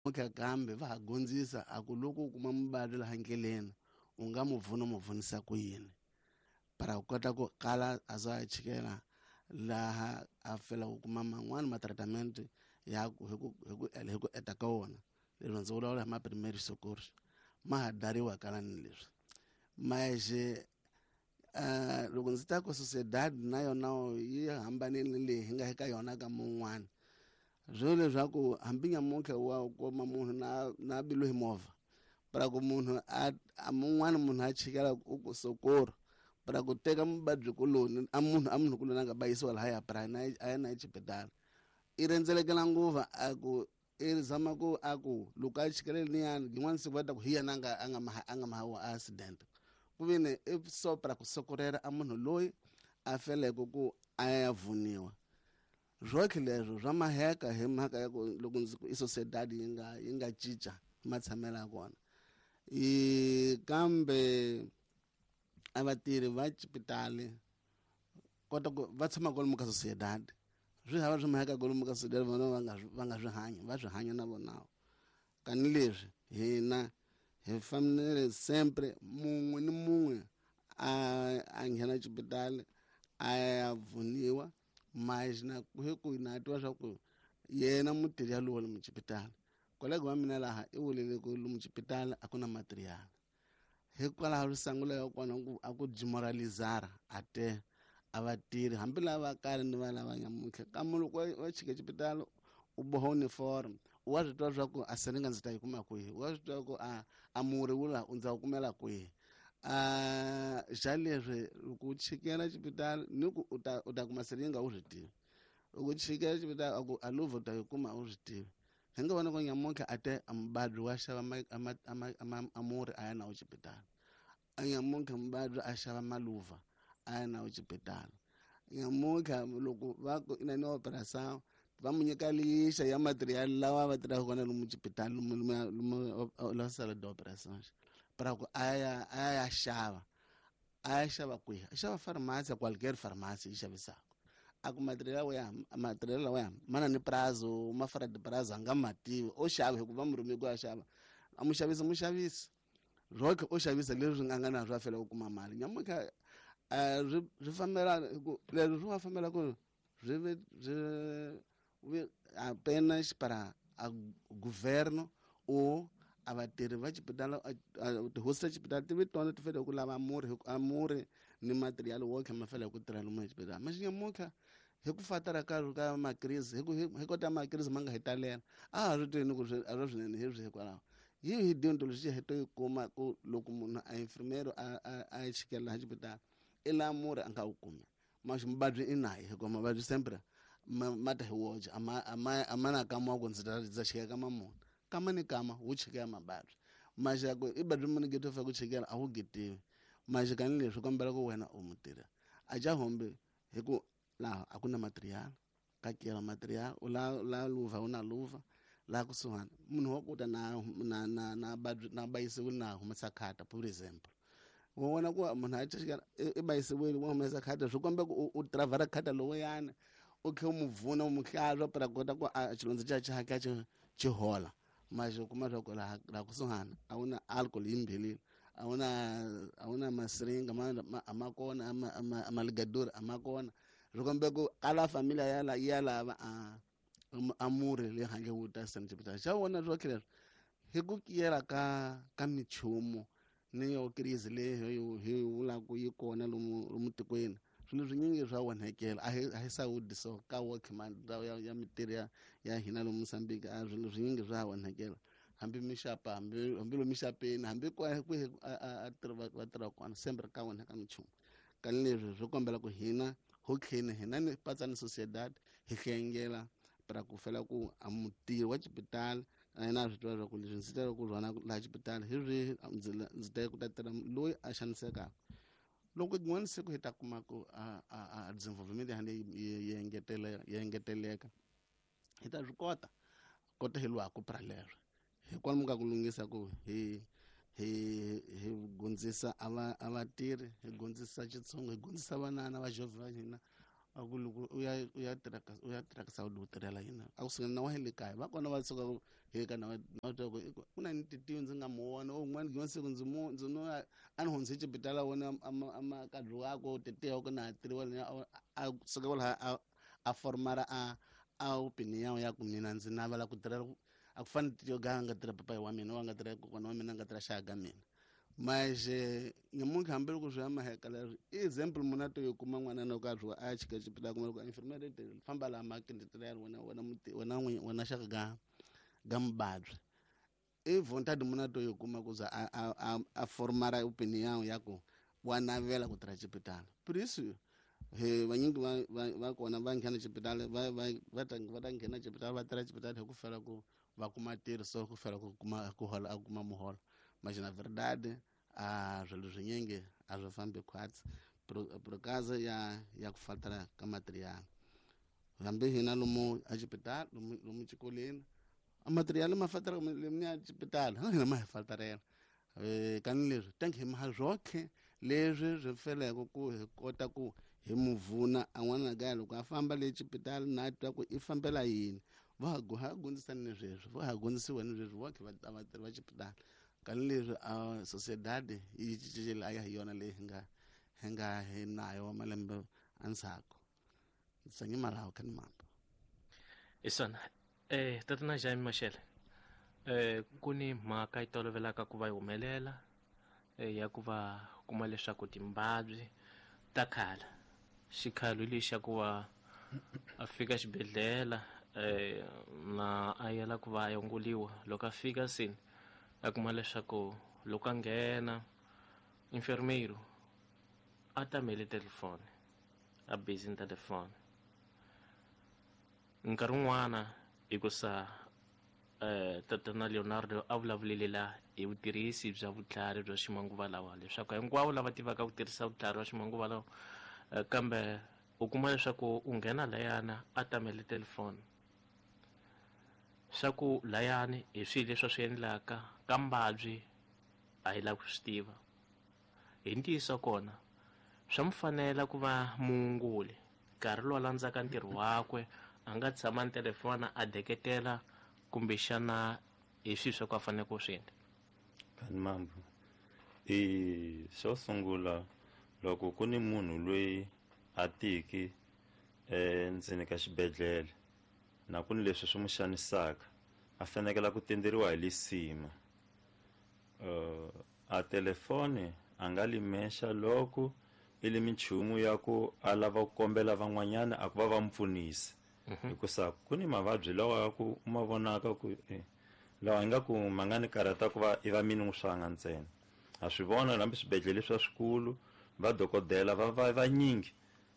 Namuntlha kambe va ha gondzisa a ku loko u kuma muvabyi laha ndleleni u nga mu pfuna u mu pfunisa ku yini para ku kota ku kala a za a chikela laha a fela ku kuma man'wani ma-treatment ya ku hi ku hi ku hi ku eta ka wona. Leswi ndzi vulavula hi ma-primary socorro ma ha dariwa kala ni leswi maje. Loko ndzi ta ku sociedad na yona yi hambanile leyi hi nga eka yona ka mun'wani, swo leswaku hambi nyamuntlha wa kuma munhu na biliwe hi movha para ku munhu a mun'wani munhu a chikela u ku socorro para ku teka muvabyi kuloni a munhu a munhu kuloni a nga bayisiwa lahaya para na a ya na exibedhlele i rhendzelekela nguva a ku i zama ku a ku loko a chikele liyani yin'wana siku va ta ku hi yena a nga mahawa accident ku vini i so para ku sokorela a munhu loyi a feleke ku a ya vuniwa. Swotlhe leswo swa maheka hi mhaka ya ku loko ndzi ku i sociedad yi nga cinca matshamelo ya kona i kambe a vatirhi va xipitali kota ku va tshama kwalomu ka sociedad, swi hava swi maheka kwalomu ka sociedad, vona va nga swi hanya, va swi hanya na vona. Kani leswi hina hi fanele sempre mun'we ni mun'we a nghena xipitali a ya pfuniwa, mas na hi ku na twa swa ku yena mutirhi yalowo lomu xipitali, kolega wa mina laha i vulile ku lomu xipitali a ku na material, hikwalaho risangula ya kona ku a ku demoralizara a te a vatirhi hambi lava kale ni va lava nyamuntlha. Kambe loko wa chika xipitali u boha uniform, wa swi tiva swa ku a siringa ndzi ta yi kuma kwihi, wa swi tiva ku a murhi wu la ndza wu kumela kwihi. A xa leswi loko u chikela xipitali ni ku u ta kuma siringa, u swi tivi. Loko u chikela xipitali a ku a luvha u ta yi kuma, u swi tivi. Hi nga vona ku nyamuntlha a te a muvabyi wa xava a murhi a ya na wo xipitali, a nyamuntlha muvabyi a xava maluva a ya na wo xipitali. Nyamuntlha loko va ku ina ni operação va mu nyika lixa ya material lawa va tirhaka kona lomu xipitali, lomu la sala de operações, para ku a ya xava, a ya xava kwihi? A xava farmasi, qualquer farmasi yi xavisaka. A ku material wa ya material lawa mana ni prazo, ma fora de prazo, a nga ma tivi, o xava hikuva mu rhume ku ya xava. A muxavisi muxavisi roke o xavisa leswi nga na swo a fela ku kuma mali. Nyamuntlha swi fambela ku leswi swi nga fambela ku swi ve swi apenas para a governo ou a vatirhi va xipitali, tihosi ta xipitali ti ve tona ti fanele ku lava murhi, a murhi ni material wo kha ma fanele ku tirha lomu exibedhlele. Mas nyamuntlha hi ku fatara ka makrisi, hi kota makrisi ma nga hi talela, a ha swi tivi ni ku a swi swinene hi swi. Hikwalaho hi deontology hi to yi kuma ku loko munhu a infirmero a chikela laha xipitali i laha murhi a nga wu kumi, mas muvabyi i naye, hikuva mavabyi sempre ma ta hi woxe, a ma na kama wa ku ndzi ta ndza chikela kama muni, kama ni kama wu chikela mavabyi. Maxaku i badi muni geto fa ku chikela a wu getiwi maxi kani leswi kombela ku wena u mutirhi a ja hombe hi ku laha a ku na material ka kela material u la luva u na luva laha kusuhani munhu wa kuta na na na bayisiwile na humesa khata, por example, wa vona ku munhu a chikela i bayisiwile wa humesa khata, swi komba ku u travara khata lowuyani u khe u mu pfuna, u mu hlantswa para kota ku a xilondza xa xi hatla xi hola. Mas u kuma swa ku laha kusuhani a wu na alcohol yimbhelile, a wu na masiringa a ma kona, a maligadori a ma kona, swi kombe ku kala familia ya la ya lava a murhi le handle wu ta sena xipitali xa vona. Swo leswi hi ku kiyela ka minchumu ni yo crise leyi hi vulaka yi kona lomu tikweni, swilo swinyingi swa onhekela. A hi sawudi so ka workman ndhawu ya mintirho ya hina lomu Mozambique, a swilo swinyingi swa onhekela, hambi mixapa, hambi lomu mixapeni, hambi kwihi a va tirha kona, sempre ka onheka minchumu. Kani leswi swi kombela ku hina ho tlheni hina ni patsa ni sociedad hi hlengela para ku fela ku a mutirhi wa xipitali na yena a swi tiva leswaku leswi ndzi tela ku rhwala laha xipitali hi swihi, ndzi ta ku ta tirha loyi a xanisekaka. Loko rin'wana siku hi ta kuma ku a desenvolvement ya hina yi engeteleka, hi ta swi kota hi lwaku pra leswo hi kwalomu ka ku lunghisa ku hi gondzisa a vatirhi, hi gondzisa xitshungu, hi gondzisa vanana va jovhe va hina. A ku loko u ya u ya tirha ka u ya tirha ka Saudi u tirhela yini? A ku sungula na wa le kaya va kona va suka he ka na na twa ku ku na ni titiyo ndzi nga mu vona o un'wana gima siku ndzi mu ndzi no a ni hundze xibedhlele wona a ma kadlu wako titiyo ku na tiriwa a suka kwalaho a formara a opinion ya ku mina ndzi navela ku tirhela a ku fani titiyo ga nga tirha papayi wa mina wa nga tirha kokwana wa mina nga tirha xaka ga mina. Mas nyamuntlha hambiloko swi ya maheka leswi i example munhu a to yi kuma n'wana loko a dyiwa a ya chika xibedhlele kuma loko infirmary famba laha makende wena wena muti wena n'winyi wena xaka ga ga mubabyi i vontade munhu a to yi kuma ku za a formara opinion ya ku wa navela ku tirha xibedhlele. Por isso he vanyingi va kona va nghena xibedhlele va ta nghena xibedhlele va tirha xibedhlele hi ku fela ku va kuma ntirho so ku fela ku kuma ku hola a kuma muholo. Mas na verdade a swilo swinyingi a swi fambi khwatsi por causa ya ku faltara ka material. Hambi hina lomu a xibedhlele lomu xikolweni a material ma faltara lomu ya xibedhlele hina ma hi faltarela. Kani leswi tank hi ma swokhe leswi swi feleke ku hi kota ku hi muvuna a n'wana kaya loko a famba le xibedhlele na twa ku i fambela yini va ha gondzisani ni sweswi va ha gondzisiwa ni sweswi va khe va vatirhi va xibedhlele. Kani leswi a sociedade yi cincile a ya hi yona leyi hi nga hi nayo malembe endzhaku. Ndzi malawo kha ni mamba. Isona tatana Jaime Mashele, ku ni mhaka yi tolovelaka ku va yi humelela ya ku va kuma leswaku timbabyi ta khala xikhalo lexi xa ku va a fika xibedhlele na a yela ku va a yongoliwa loko a fika sini a kuma leswaku loko a nghena enfermeiro a tamele telefoni a busy ni telefoni nkarhi wun'wana hikusa tatana Leonardo a vulavulele la hi vutirhisi bya vutlhari bya ximanguva lawa leswaku hinkwavo lava tivaka ku tirhisa vutlhari bya ximanguva lawa kambe u kuma leswaku u nghena layana a tamele telefoni swa ku layani hi swilo leswi a swi endlaka ka mbabyi a hi lavi ku swi tiva. Hi ntiyiso kona swa mu fanela ku va muunguli nkarhi lowu a landzaka ntirho wakwe a nga tshama ni telefoni a deketela kumbexana hi swilo swa ku a fanele ku swi endla. Kani mambo i xo sungula loko ku ni munhu loyi a tiki endzeni ka xibedhlele na ku ni leswi swi n'wi xanisaka a fanekela ku tenderiwa hi lisima a telefoni a nga limexa loko i li minchumu ya ku a lava ku kombela van'wanyana a ku va va mu pfunisa hikusa ku ni mavabyi lawa ya ku u ma vonaka ku lawa ingaku ma nga ni karhata ku va i va mini swanga ntsena. Ha swi vona hambi swibedhlele swa swikulu va dokodela va va vanyingi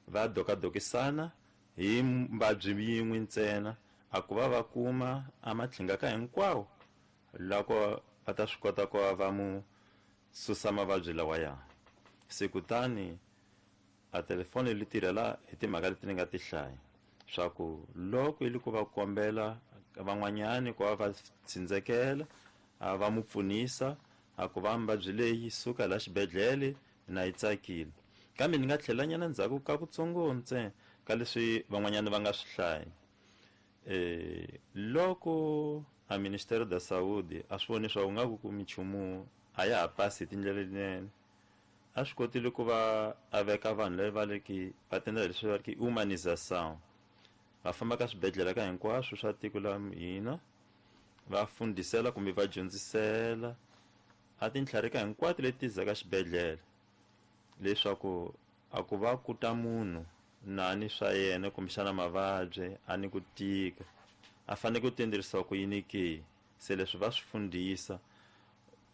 va dokadokisana hi mbabyi yin'we ntsena a ku va va kuma a matlhinga ka hinkwawo loko va ta swi kota ku va mu susa mavabyi lawaya. Se kutani a telefoni li tirhela hi timhaka leti ni nga ti hlaya swa ku loko yi li ku va kombela van'wanyani ku va va tsindzekela a va mu pfunisa a ku va mbabyi leyi suka la xibedhlele na yi tsakile. Kambe ni nga tlhela nyana ndzhaku ka kutsongo ntsena ka leswi van'wanyana va nga swi hlaya. Loko a Ministério da Saúde a swi voni swa ku nga ku minchumu a ya ha pasi hi tindlela letinene a swi kotile ku va a veka vanhu lava va leki va tendela leswi va ri humanização va famba ka swibedhlele ka hinkwaswo swa tiko la hina va fundisela kumbe va dyondzisela a tintlharika hinkwato leti zaka xibedhlele leswaku a ku va ku ta munhu na ni swa yena kumbexana mavabyi a ni ku tika a fanele ku tenderisiwa ku yini ke. Se leswi va swi fundisa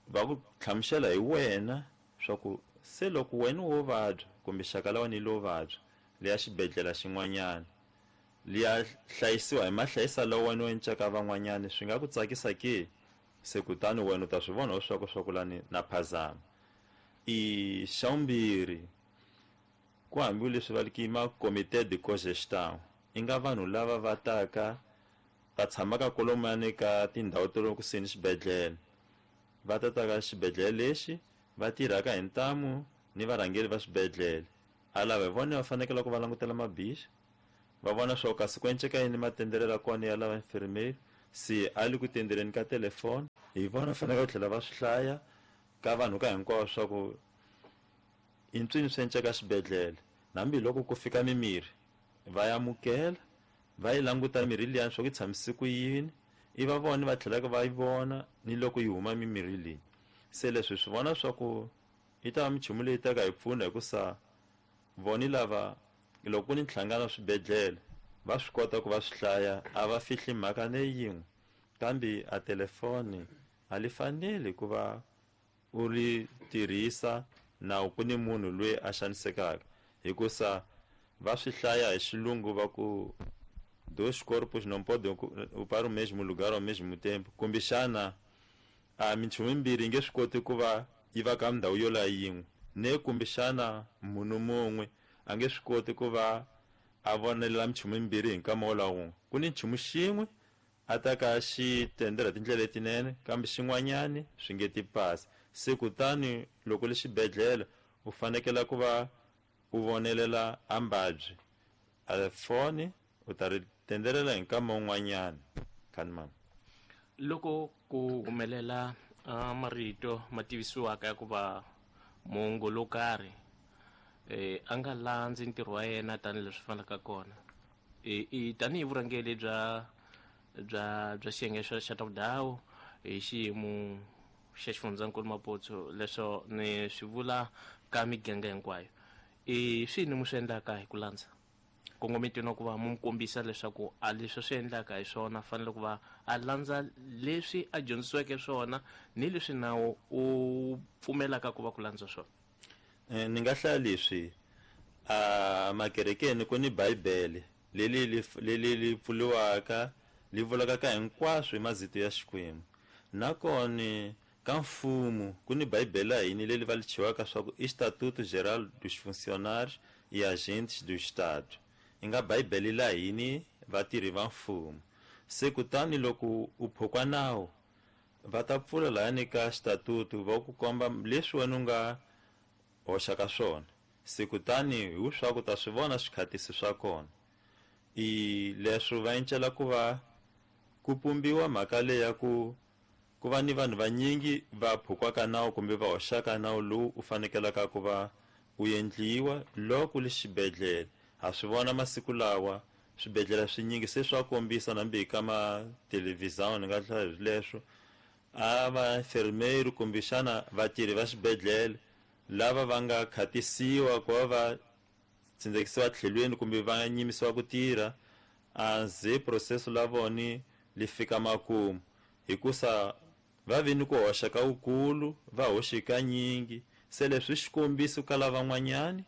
va ku hlamusela hi wena swa ku se loko wena wo vabya kumbe xaka la wena yi lo vabya liya xibedhlele xin'wanyana liya hlayisiwa hi mahlayisa lawa wena u encaka van'wanyana swi nga ku tsakisa ke. Se kutani wena u ta swi vona leswaku swa ku lani na phazama. I xa vumbirhi ku hambi leswi va ki ma comité de cogestion i nga vanhu lava va taka va tshamaka kolomani ka tindhawu ta le kusuhi ni xibedhlele va ta ta ka xibedhlele lexi va tirhaka hi ntamu ni varhangeri va swibedhlele a lava hi vona va fanekele ku va langutela mabixi. Va vona swa ku kasi ku enceka yini matenderelo ya kona ya lava infirmeri, se a le ku tendereni ka telefoni. Hi vona fanele ku tlhela va swi hlaya ka vanhu ka hinkwavo swa ku i ntswini swi enceka xibedhlele. Hambiloko ku fika mimirhi va ya amukela, va yi languta mirhi liyani swa ku yi tshamise ku yini, i va vona va tlhelaka va yi vona ni loko yi huma mimirhi leyi. Se leswi swi vona swa ku yi ta va minchumu leyi taka hi pfuna, hikusa voni lava loko ku ni nhlangano wa swibedhlele va swi kota ku va swi hlaya, a va fihli mhaka ne yin'we. Kambe a telefoni a li faneli ku va u ri tirhisa na ku ni munhu loyi a xanisekaka, hikusa va swi hlaya hi xilungu va ku dois corpos não podem ocupar o mesmo lugar ao mesmo tempo, kumbexana a minchumu yimbirhi yi nge swi koti ku va yi va ka ndhawu yo la yin'we, ne kumbexana munhu mun'we a nge swi koti ku va a vonelela minchumu yimbirhi hi nkama wo la wun'we. Ku ni nchumu xin'we a ta ka xi tendela tindlela letinene, kambe xin'wanyani swi nge ti pasi. Se kutani loko le xibedhlele u fanekela ku va u vonelela a mbabyi, a foni u ta ri tendelela hi nkama wun'wanyana. Khani mama. Loko ku humelela marito ma tivisiwaka ya ku va muongori wo karhi a nga landzi ntirho wa yena tanihileswi fanelaka kona, i tanihi vurhangeri bya xiyenge xa ta vudhawu hi xiyimo xa xifundzankulu Maputo, leswo ni swi vula ka miganga hinkwayo, i swini mu swi endlaka hi ku landza kongometweni wa ku va mu kombisa leswaku a leswi swi endlaka hi swona fanele ku va a landza leswi a dyondzisiweke swona ni leswi nawu u pfumelaka ku va ku landza swona? Ni nga hlaya leswi a makerekeni ku ni Bibele leli li pfuriwaka li vulaka ka hinkwaswo hi mazito ya Xikwembu. Nakona ka mfumo ku ni Bibele ya hina leli va li chiwaka swa ku Estatuto Geral dos Funcionários e Agentes do Estado, yi nga Bibele la hini vatirhi va mfumo. Se kutani loko u phukwa nawu va ta pfula lahani ka xitatutu va ku komba leswi wena u nga hoxaka swona. Se kutani hi swa ku ta swi vona swikhatisi swa kona. I leswi va encela ku va ku pumbiwa mhaka leyi ya ku ku va ni vanhu vanyingi va phukwaka nawu kumbe va hoxaka nawu lowu u fanekelaka ku va u endliwa loko le xibedhlele. Ha swi vona masiku lawa swibedhlele swinyingi se swa kombisa nambi ka ma televhizão, ni nga hlaya hi leswo a va enfermeiro kumbexana vatirhi va xibedhlele lava va nga khatisiwa ku va va tsindzekisiwa tlhelweni kumbe va nyimisiwa ku tirha, a ze processo la voni li fika makumu, hikusa va vi ni ku hoxa ka wukulu, va hoxe kanyingi. Se leswi xikombiso ka lavan'wanyani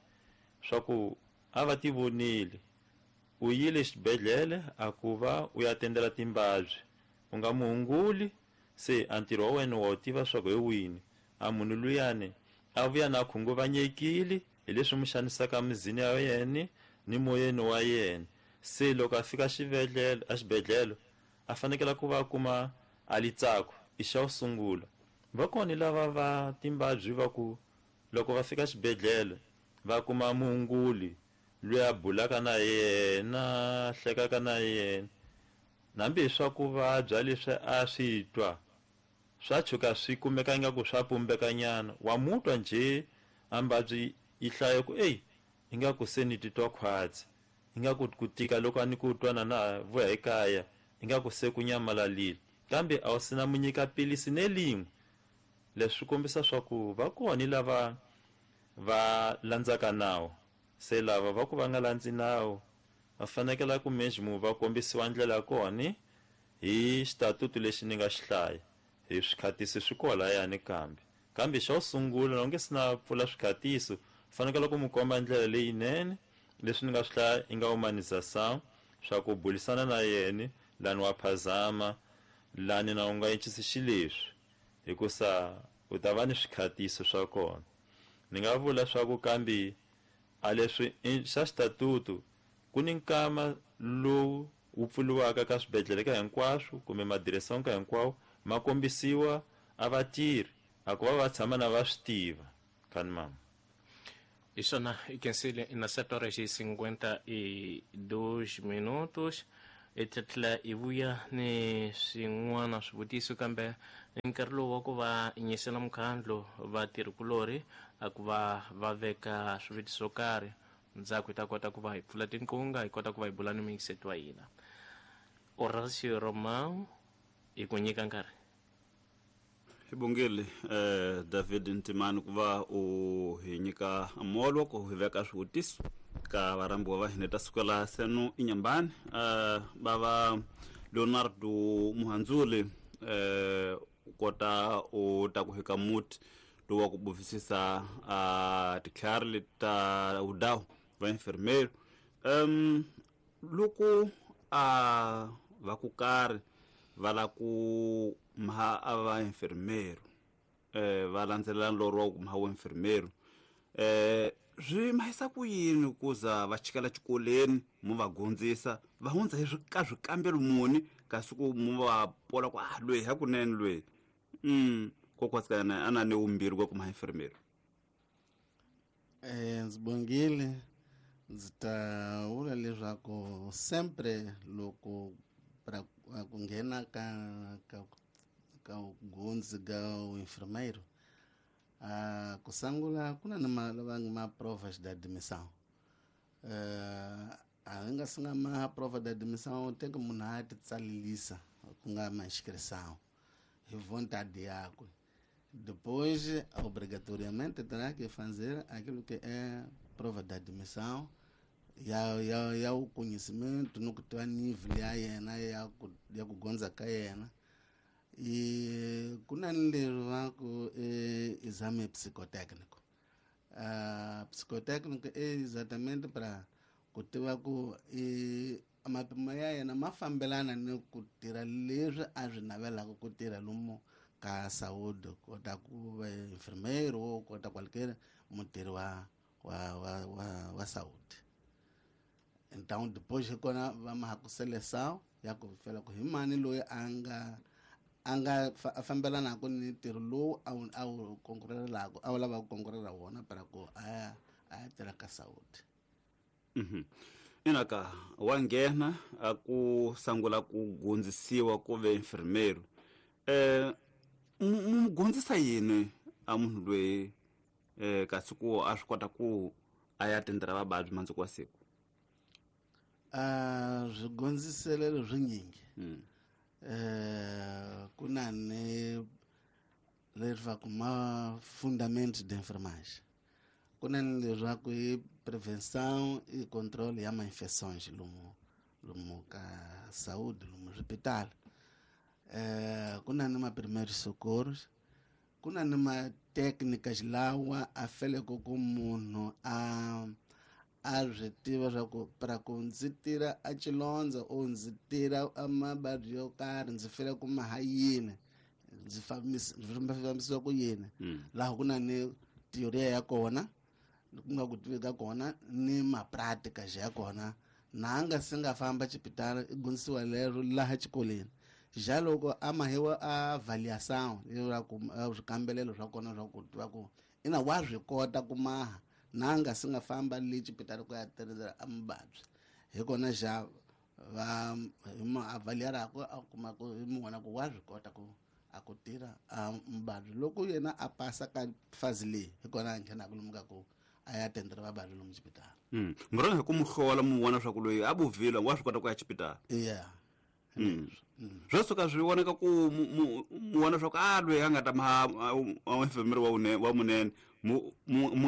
swa ku a va ti vonile, u yile xibedhlele a ku va u ya tendela timbabyi, u nga muhunguli, se a ntirho wa wena wa wu tiva swa ku hi wini. A munhu luyani a vuya na khunguvanyekile hi leswi mu xanisaka mizini ya yena ni moyeni wa yena. Se loko a fika a xibedhlele a fanekele ku va a kuma a litsako i xa wu sungula. Va kona lava va timbabyi va ku loko va fika xibedhlele va kuma muhunguli loyi a bulaka na yena, hlekaka na yena, hambi hi swa ku vabya leswi a swi twa swa tshuka swi kumeka ingaku swa pumbekanyana, wa mutwa njhe a mbabyi yi hlaya ku eyi ingaku se ni titwa khwatsi, ingaku ku tika loko a ni ku twa na na vuya ekaya ingaku se ku nyamalalile, kambe a wu sina mu nyika pilisi ne lin'we. Leswi swi kombisa swa ku va kona lava va landzaka nawu, se lava va ku va nga landzi nawu va fanekela ku mesmo va kombisiwa ndlela ya kona hi xitatutu lexi ni nga xi hlaya, hi swikhatisi swi kolayani. Kambe xa wu sungula loko nge se na pfula swikhatiso, fanekele ku mu komba ndlela leyinene leswi ni nga swi hlaya i nga humanização swa ku bulisana na yena lani wa phazama, lani na u nga encisi xileswi, hikusa u ta va ni swikhatiso swa kona. Ni nga vula swa ku kambe a leswi xa xitatutu ku ni nkama lowu wu pfuriwaka ka swibedhlele ka hinkwaswo kumbe madireson ka hinkwawo, ma kombisiwa a vatirhi a ku va va tshama na va swi tiva. Khani mama. Hi swona i khensile na 7 horas e 52 minutos. Hi ta tlhela hi vuya ni swin'wana swivutiso, kambe nkarhi lowu wa ku va nyisela mukhandlu vatirhikulorhi a ku va va veka swivutiso swo karhi, ndzhaku hi ta kota ku va hi pfula tinqunga, hi kota ku va hi bula ni muyingiseti wa hina Horacio Romao. Hi ku nyika nkarhi. Hi bongile David Ntimani ku va u hi nyika molo ku hi veka swivutiso ka varhambiwa va hina ta sukela seno inyambani. Bava Leonardo Muhandzuli, u kota u ta ku hika muti lowu wa ku buvisisa titlhari leti ta vudawu va enfermeiro. Loko a va ku karhi va la ku mha a va enfermeiro, va landzelela nlorho wa ku mha wa enfermeiro, swi mahisa ku yini ku za va chikela xikolweni mu va gondzisa va hundza hi ka swikambelo muni, kasi ku mu va pola ku a loyi hakunene loyi kokwatsikana a na ni vumbirhi kwa ku mha enfermeiro? Ndzi bongile. Ndzi ta vula leswaku sempre loko pra ku nghena ka gondzi ka enfermeiro, ku sungula ku na ni ma lava ma provas de admissão. A nga si nga ma prova de admissão, tem que munhu a ti tsalelisa ku nga ma inscrição hi vontade yakwe. Depois, obrigatoriamente, terá que fazer aquilo que é prova de admissão ya o conhecimento no que tiva nível ya yena ya ku gondza ka yena. E ku na ni leri va ku exame psicotécnico. Psicotécnico é exatamente para ku tiva ku mapimo ya yena ma fambelana ni ku tirha leswi a swi navelaka ku tirha lomu ka saúde, kota ku va enfermeiro ou kota qualquer mutirhi wa saúde. Então depois hi kona va ma ku seleção ya ku fela ku hi mani loyi a nga a fambelanaka ni ntirho lowu a wu konkurelaka, a wu lava ku konkurela wona para ku a ya tirha ka saúde. Inaka wa nghena a ku sangula ku gondzisiwa ku ve enfermeiro, mu gondzisa yini a munhu loyi, kasi ku a swi kota ku a ya tendera vababyi mandzuku wa siku? Swigondziselelo swinyingi. Ku na ni leswaku ma fundamento de enfermagem, ku na ni leswaku i prevenção e controle ya ma-infecções lomu ka saúde, lomu swipitali. Ku na ni ma primeiros socorros, ku na ni ma técnicas lawa a feleke ku munhu a swi tiva swa ku para ku ndzi tirha a xilondza o ndzi tirha a mavabyi yo karhi, ndzi fele ku ma ha yini, ndzi fambisiwa ku yini. Laha ku na ni teoria ya kona, ku nga ku tivi ka kona ni mapráticas ya kona. Na nga se nga famba xipitali, i gondzisiwa lero laha xikolweni. Ja loko a mahiwa a avaliação ku swikambelelo swa kona swa ku tiva ku ina wa swi kota ku maha na nga se nga famba le xipitali ku ya tirhela a muvabyi, hi kona xa va hi mu avaliarako, a kuma ku hi mu vona ku wa swi kota ku a ku tirha a muvabyi. Loko yena a pasa ka fazi leyi, hi kona a nghenaka lomu ka ku a ya tendela vavabyi lomu xipitali. Mi rhanga hi ku mu hlola, mu vona swa ku loyi a buvile wa swi kota ku ya xipitali? Yeah. Swo suka swi vonaka ku mu vona swa ku a loyi a nga ta ma enfermeiro wa munene, mu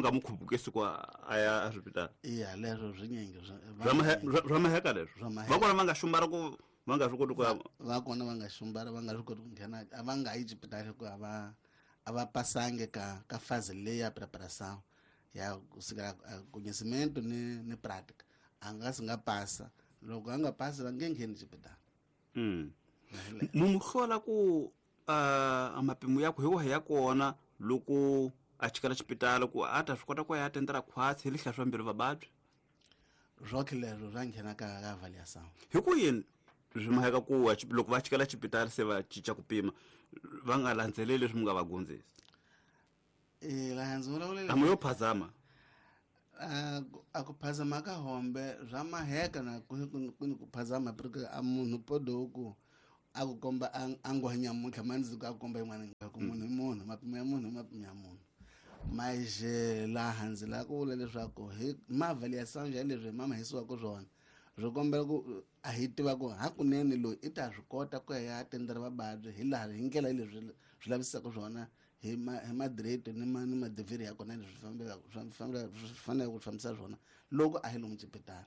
nga mu khupukisi ku a ya eswipitali? Iya, leswo swinyingi. Swa maheka leswo. Swa maheka. Va kona va nga xumbara ku va nga swi koti ku ya? Va kona va nga xumbara, va nga swi koti ku nghena, a va nga yi xipitali hikuva a va pasangi ka fase leyi ya preparação ya kusukela conhecimento ni prática. A nga si nga pasa. Loko a nga pasi, va nge ngheni xipitali. Mu mu hlola ku a mapimo ya ku hi wahi ya kona loko a chikela xipitali ku a ta swi kota ku ya tendela khwatsi hi lihla swa mbilu vababyi? Swoke leswo swa nghena ka avaliação. Hi ku yini swi maheka ku loko va chikela xipitali se va cinca ku pima, va nga landzeleli leswi mu nga va gondzisa? Laha ndzi vulavulele A mu yo phazama. A ku phazama ka hombe swa maheka na ku ni ku phazama porque a munhu podo ku a ku komba a ngwa nyamuntlha mandzuku a ku komba yin'wana ku munhu i munhu, mapimo ya munhu i mapimo ya munhu. Mas laha ndzi lava ku vula leswaku hi maavaliação ya leswi hi mamahisiwaka swona swi kombela ku a hi tiva ku hakunene loyi i ta swi kota ku ya tendera vavabyi hi laha hi ndlela leswi swi lavisaka swona hi ma hi madireto ni ma ni madivhiri ya kona leswi fambelaka swi faneleke ku fambisa swona loko a hi lomu xipitala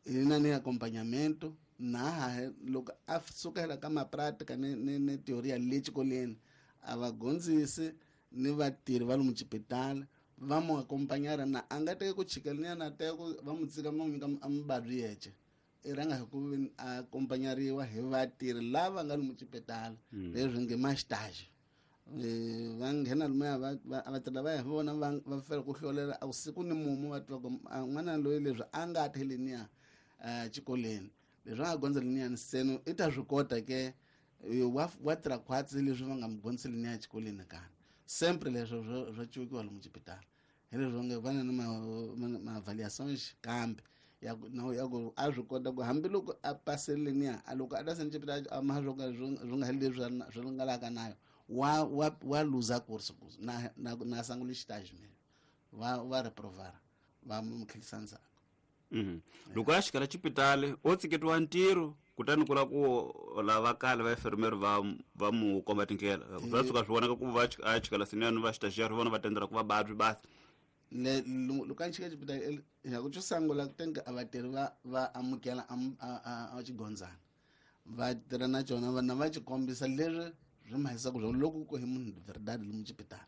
hi na ni accompagnamento na loko a sukela ka mapratika ni teoria le xikolweni a va gondzisi ni vatirhi va lomu xipitala va mu accompagnara na a nga teki ku chikela na teka ku va mu tsika ma n'wi nyika a muvabyi yexe i rhanga hi ku a accompagnariwa hi vatirhi lava nga lomu xipitala leswi nge ma stage va nghena lomuya vatirhi lavaya hi vona va fela ku hlolela a siku ni mumu va tiva ku n'wana loyi leswi a nga ta leniya xikolweni leswi a nga gondza leniyani seno i ta swi kota ke wa tirha khwatsi leswi va nga mu gondzisi leniya xikolweni kana sempre leswo swa cukiwa lomu xipitala hi leswi nge va na ni ma-avaliações kambe ya ku a swi kota ku hambiloko a pasele leniya a loko a ta seni xipitala a ma swo ka swi nga heli leswi swi ringalaka nayo wa luza course na na na sangula xitaji me va reprovara va mu tlhelisa ndzhaku. Loko a xikala xipitali o tsiketiwa ntirho kutani ku la ku lava kale va enfermeiro va mu komba tindlela swa tshuka swi vonaka ku va a chikala siniyani va xitaxiari vona va tendela ku vababyi basi le loko a chika xipitali ya ku xo sungula tenga a vatirhi va amukela a xigondzana va tirha na cona vana va xi kombisa leswi swi mahisaka swona loko ku hi munhu verdade lomu xipitala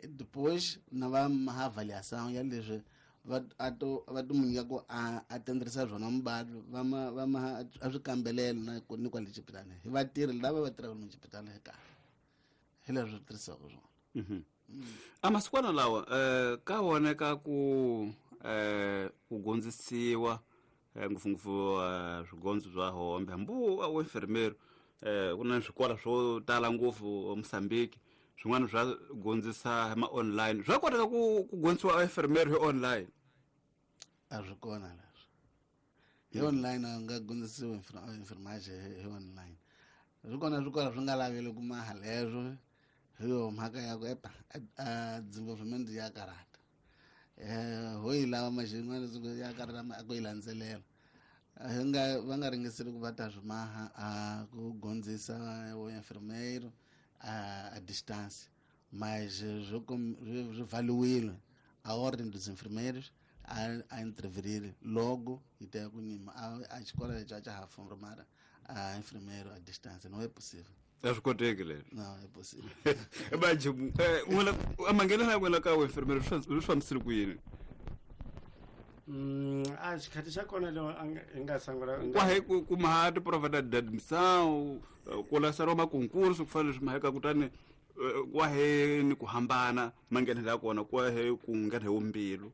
depois na va maha avaliação ya leswi va to va to mu nyika ku a tenderisa swona muvabyi va ma a swi kambelela na ni kwale xipitala hi vatirhi lava va tirhaka lomu xipitala hi kahle hi leswi swi tirhisiwaka swona. A masikwana lawa ka voneka ku ku gondzisiwa ngopfungopfu swigondzo swa hombe hambi wa enfermeiro ku na swikolo swo tala ngopfu Mozambique swin'wana swa gondzisa ma online swa koteka ku gondzisiwa enfermeiro hi online a swi kona leswi hi online a nga gondzisiwi enfermagem hi online swi kona swikolo swi nga laveli ku maha leswo hi yo mhaka ya ku epa a desenvolvimento ya karata ho yi lava maxin'wana ya karata a ku yi landzelela hi nga va nga ringeseli ku va ta swi maha a ku gondzisa o enfermeiro a distância mas swi valiwile a ordem dos enfermeiros a interferir logo e ter ku nyima a xikolo lexi a xa ha formar a enfermeiro a distância não é possível. A swi koteki leswi. Não é possível. Baji n'wina a manghenela ya n'wina ka enfermeiro swi fambisile ku yini? A xikhathi xa kona leo hi nga sungula kwahe ku maha tiprova ta admissão ku laseriwa makoncurso ku fana leswi maheka kutani kwahe ni ku hambana manghenelo ya kona kwahe ku nghena hi wumbilu.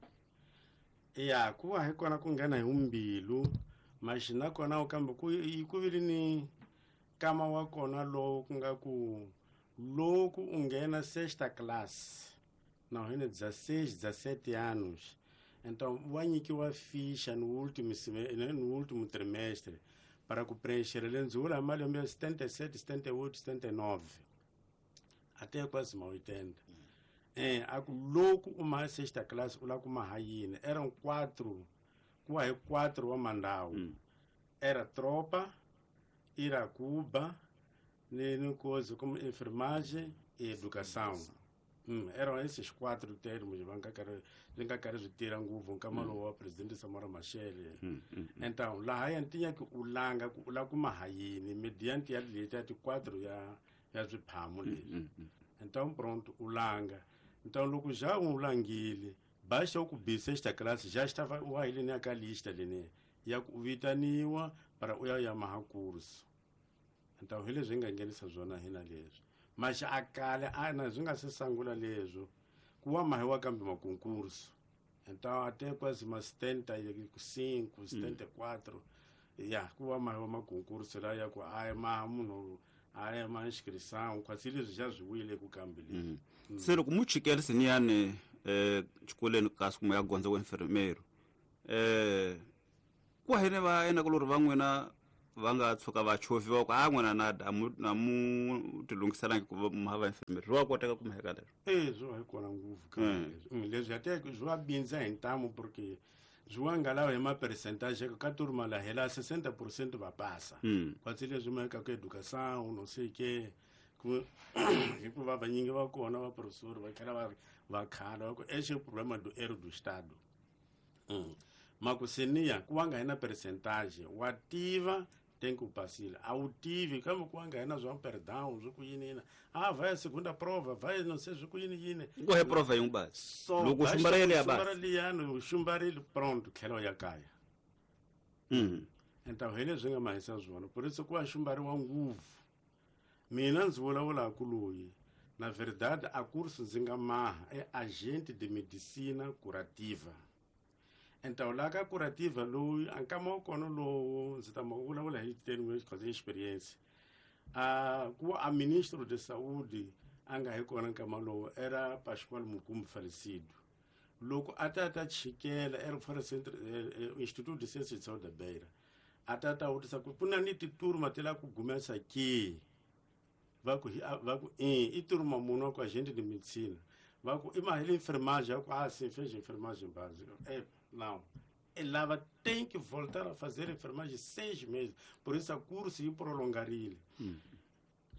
Ya ku va hi kona ku nghena hi wumbilu maxi na kona kambe ku ku vile ni kama wa kona lowu ku nga ku loko u nghena sexta class na hina 16 17 anos então wa nyikiwa ficha no último no último trimestre para ku preencher lendzula malembe ya 77 78 79 até quase ma 80 a ku loko u maha sexta class u la ku maha yini eram 4 ku wa hi 4 wa mandawu era tropa ira Cuba ni coisa como enfermagem e educação. Eram esses 4 termos va nga karhi swi nga karhi swi tirha ngopfu nkama lowu wa presidente Samora Machel. Então laha ya ntinya ku u langa ku u la kuma ha yini mediante ya leti ya ti 4 ya swiphamu leswi. Então pronto u langa. Então loko já u langile baixa ku bi sexta classe já estava u wa ile ka lista leni ya ku vitaniwa para u ya ya maha curso. Então hi leswi hi nga nghenisa swona hina leswi maxa a kale a na swi nga se sungula leswo ku wa mahiwa kambe makoncurso então até quase ma 75 74 ya ku wa mahiwa makoncurso la ya ku a maha munhu a ya ma inscrição quase leswi xa swi wile ku kambe leswi. Se loko mu chikela siniyani xikolweni kasi kuma ya gondza wa enfermeiro ku hene va enakulori va n'wina va nga tshuka va chovhiwa ku a n'wina na a mu tilunghiselangi ku va ma va enfermeiro swi wa koteka ku mheka leswo? E swi va hi kona ngopfu leswi ya teka swi va bindza hi ntamu, porque swi wa nga lava hi ma-percentage ka turma la hela 60% va pasa. Kwatsi leswi maheka ku educação não sei que ku hikuva vanyingi va kona va professor va tlhela va ri va khala va ku esse é o problema do erro do estado. Makuseniya ku va nga hi na percentage wa tiva tem que pasile a wu tivi, kambe ku va nga hi na swa perdão swi ku yini yini, a vai a segunda prova, vai não sei swi ku yini yini. Ku he prova yin'we basi. So loko basta xumbara yele ya ku xumbara basi. Liyani u xumbarile, pronto, tlhela u ya kaya. Então hi leswi nga mahisa swona, por isso ku va xumbariwa ngopfu. Mina ndzi vulavulaka loyi, na verdade a curso ndzi nga maha é agente de medicina curativa. Então laha ka curativa loyi a nkama wa kona lowu ndzi ta ma vulavula hi termo de experiência, a ku a ministro de saúde a nga hi kona nkama lowu era Pascoal Mukumbi falecido. Loko a ta ta chikela era fora centro Instituto de Ciências de Saúde da Beira, a ta ta vutisa ku ku na ni titurma ti lava ku gumesa ke, va ku va ku i turma munhu wa ku agente de medicina, va ku i mahele enfermagem, va ku ah sim, fez enfermagem básica. É não, ela tem que voltar a fazer enfermagem 6 meses, por isso a curso yi prolongarile.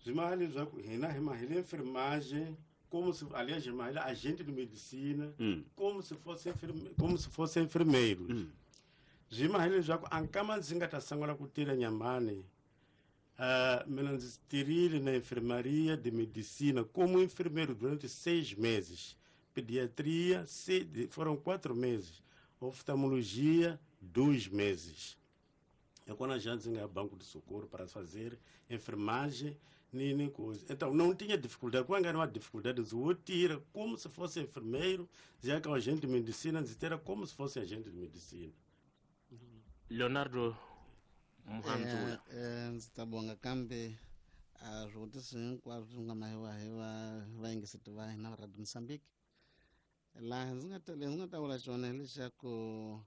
Swi maha leswaku hina hi mahele enfermagem como se, aliás, mahele agente de medicina como se fosse como se fosse enfermeiro. Swi maha leswaku a nkama ndzi nga ta sungula ku tirha Nyamani, mina ndzi tirhile na enfermaria de medicina como enfermeiro durante 6 meses, pediatria foram 4 meses, oftalmologia 2 meses. É quando a gente nga banco de socorro para fazer enfermagem nem coisa. Então não tinha dificuldade, quando era uma dificuldade, eu tira como se fosse enfermeiro, já que é agente de medicina, tira como se fosse agente de medicina. Leonardo Muhanzula. Ndzi ta bonga kambe a swivutiso hinkwaswo swi nga mahiwa hi va vayingiseti va hina va Radio Mozambique. Laha ndzi nga ta ndzi nga ta vula xona hileswaku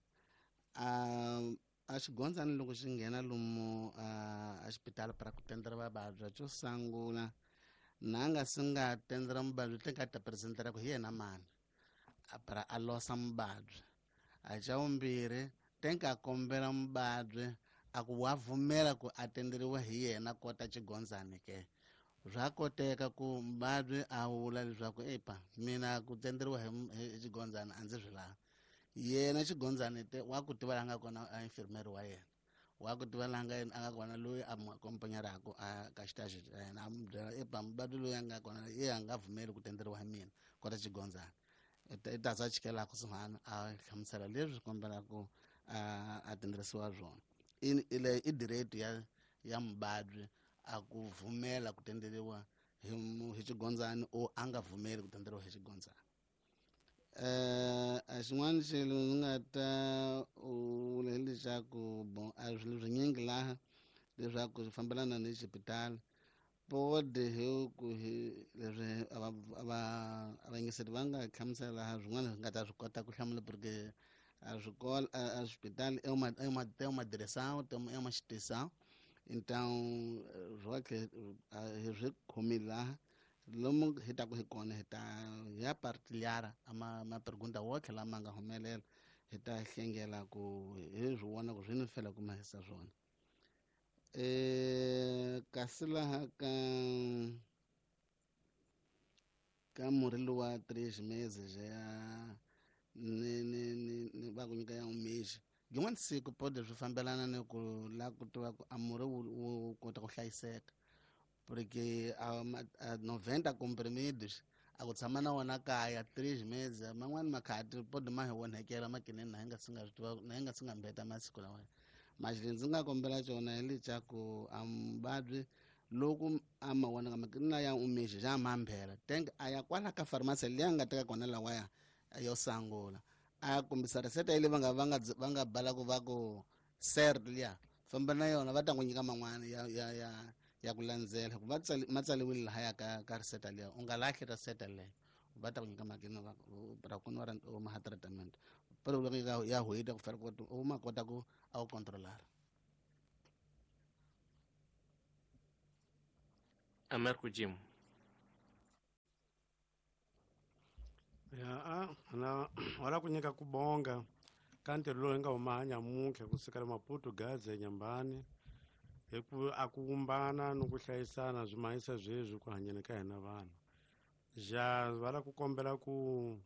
a xigondzani loko xi nghena lomu a xipitala para ku tendera vavabyi, xo sungula na nga si nga tendera muvabyi te nga ta presentera ku hi yena mani a para a losa muvabyi. A xa vumbirhi te nga kombela muvabyi a ku wa pfumela ku a tenderiwa hi yena kota xigondzani ke. Swa koteka ku muvabyi a vula leswaku epa mina ku tenderiwa hi xigondzani a ndzi swi lavi. Yena xigondzani te wa ku tiva laha nga kona a infirmeri wa yena, wa ku tiva laha nga a nga kona loyi a n'wi akompanyaraka a ka xitaxi xa yena, a n'wi byela epa muvabyi loyi a nga kona ye a nga pfumeli ku tenderiwa hi mina kota xigondzani. I ta za chikela kusuhani a hlamusela leswi kombelaka a tenderisiwa swona. I i direito ya muvabyi a ku pfumela ku tenderiwa hi xigondzani o a nga pfumeli ku tenderiwa hi xigondzani. A xin'wana xilo ndzi nga ta vula hileswaku bon a swilo swinyingi laha leswaku swi fambelana ni xipitali pode hi ku hi leswi a vayingiseri va nga hlamusela laha swin'wana swi nga ta swi kota ku hlamula, porque a swikolo a xipitali é uma, é uma, tem uma direção, tem uma, é uma instituição. Então swa hi swi khomile laha lomu hi taku hi kona hi ta ya partilhar a ma pergunta wotlhe lama nga humelela, hi ta hlengela ku hi swi vona ku swi ni fela ku mahisa swona. Kasi laha ka murhi luwa 3 meses ya ni ni ni ni va ku nyika ya umexi yin'wana siku pode swi fambelana ni ku la ku tiva ku a murhi wu kota ku hlayiseka, porque a 90 comprimidos a ku tshama na wona kaya 3 meses man'wani makhati pode ma hi onhekela makineni na hi nga si nga swi tiva, na hi nga si nga mbeta masiku lawa. Maxi ndzi nga kombela xona hi leswaku a muvabyi loko a ma vona ka makini ya umexi xa mambhela teng a ya kwala ka pharmacy leyi a nga teka kona lawaya yo sungula a kombisa reseta leyi va nga bala ku va ku ser liya famba na yona va ta n'wi nyika man'wana ya ku landzela ku va ma tsaliwile lahaya ka reseta liya, u nga lahli reseta leyo. Va ta ku nyika makini va ra ku va u maha treatment pero loko ya hweta ku fanele ku u ma kota ku a wu controlar. Amerco Jim. Ya na wala ku nyika ku bonga ka ntirho lowu hi nga huma nyamuntlha kusukela Maputo Gaza Nyambani hi ku a ku vumbana ni ku hlayisana swi mahisa sweswi ku hanyeni ka hina vanhu. Ja va la ku kombela ku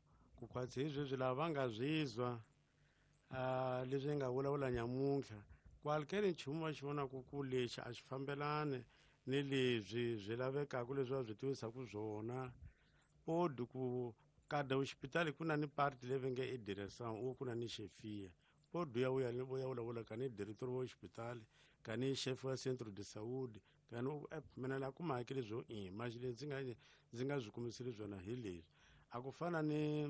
khwatsi hi sweswi lava va nga zwizwa leswi hi nga vulavula nyamuntlha kwalukeni nchumu va xi vonaku ku lexi a xi fambelani ni leswi swi lavekaka leswi va swi tivisaku swona podi ku kada hospitali ku na ni parti leyi va nge i direction u ku na ni xefia podi ya u ya vulavula ka ni director wa hospitali ka ni chef wa centre de saúde ka ni mina la ku mahakeli byo i maxi ndzi nga swi kumiseli swona hi leswi a ku fana ni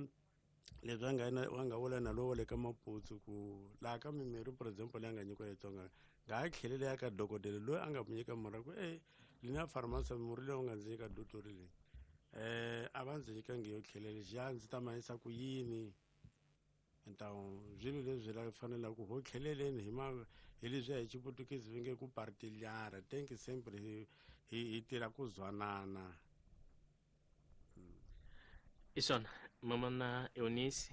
leswi a nga vula na lowo le ka Maputsu ku laha ka mimirhi for example leyi a nga nyikiwa Xitsonga nga ha tlheleli ya ka dokodela loyi a nga mu nyika murhi ku e lina pharmacy murhi lowu nga ndzi nyika dotori leyi a va ndzi nyikangi yo tlhelela xa ndzi ta mahisa ku yini ntawu swilo leswi la fanelaka ku ho tlheleleni hi ma hi leswiya hi xiputukezi va nge ku partilhar tem que sempre hi tirha ku zwanana. Isona mama na Eunice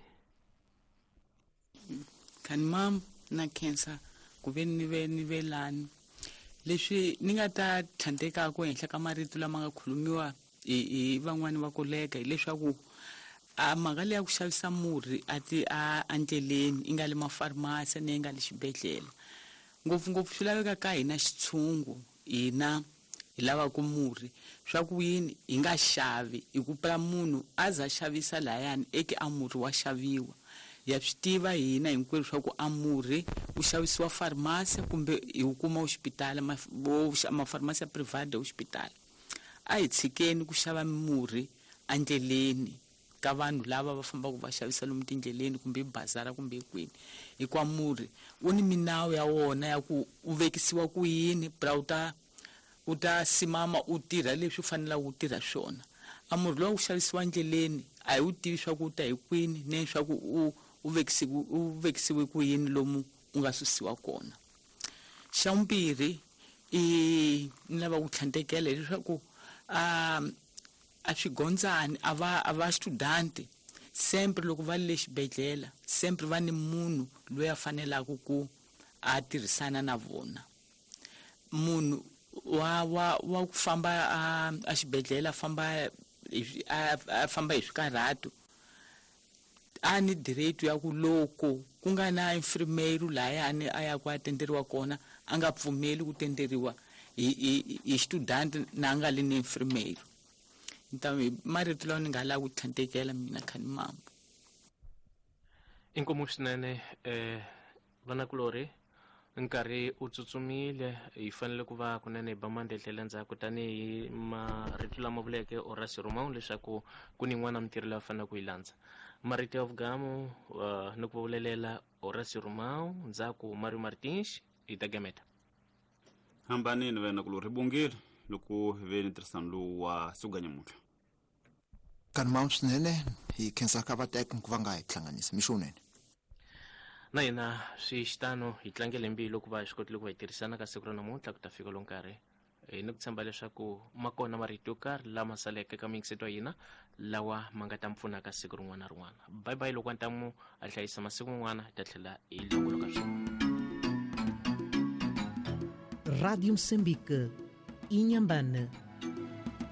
kan mam na cancer ku ve ni ve lani leswi ni nga ta tlhandleka ku henhla ka marito lama nga khulumiwa hi van'wani va koleka hileswaku a mhaka leyi ya ku xavisa murhi a ti a endleleni i nga le mafarmasi ni nga le xibedhlele ngopfungopfu swi laveka ka hina xitshungu hina hi lavaka murhi swa ku yini hi nga xavi hi ku pela munhu a za xavisa lahayani eke a murhi wa xaviwa ya swi tiva hina hinkwerhu swa ku a murhi wu xavisiwa farmasi kumbe hi wu kuma hospitali mafarmasi ya private hospitali a hi tshikeni ku xava murhi endleleni ka vanhu lava va fambaka va xavisa lomu tindleleni kumbe bazara kumbe kwini hikuva murhi wu ni minawu ya wona ya ku u vekisiwa ku yini pra u ta simama u tirha leswi u fanelaka ku tirha swona a murhi lowu xavisiwa endleleni a hi wu tivi swa ku u ta hi kwini ne swa ku u vekisiwe ku yini lomu u nga susiwa kona. Xa vumbirhi i ni lava ku tlhandlekela hileswaku a swigondzani a va student sempre loko va le xibedhlele sempre va ni munhu loyi a fanelaka ku a tirhisana na vona munhu wa ku famba a xibedhlele a famba hi swikarhato a ni direito ya ku loko ku nga na infirmeiro lahayani a ya ku a tenderiwa kona a nga pfumeli ku tenderiwa hi student na nga li ni infirmeiro. Então marito lawa ni nga lava ku tlhandlekela mina khani mambo. Inkomu swinene vanakulorhi nkarhi u tsutsumile hi fanele ku va kunene hi ba mandledlela ndzhaku tanihi marito lama vuleke Horacio Romão leswaku ku ni yin'wana mintirho leyi a faneleke ku yi landza. Marito ya vugamu ni ku vulelela Horacio Romão ndzhaku Mario Martins hi ta gameta. Hambanini vanakulorhi bongile loko hi ve ni ntirhisano lowu wa siku ga nyamuntlha. Kan mam swinene hi khensa ka vateki ku va nga hi hlanganisa mixo wunene. Na hina swi xitano hi tlangele mbilu ku va hi swi kotile ku va hi tirhisana ka siku ra namuntlha ku ta fika lo nkarhi hi ni ku tshemba leswaku ma kona marito yo karhi lama saleke ka miyingiseto ya hina lawa ma nga ta mi pfuna ka siku rin'wana na rin'wana. Bye bye loko ntamu a hlayisa masiku man'wana hi ta tlhela hi longoloka swin'we. Rádio Moçambique, Inhambane.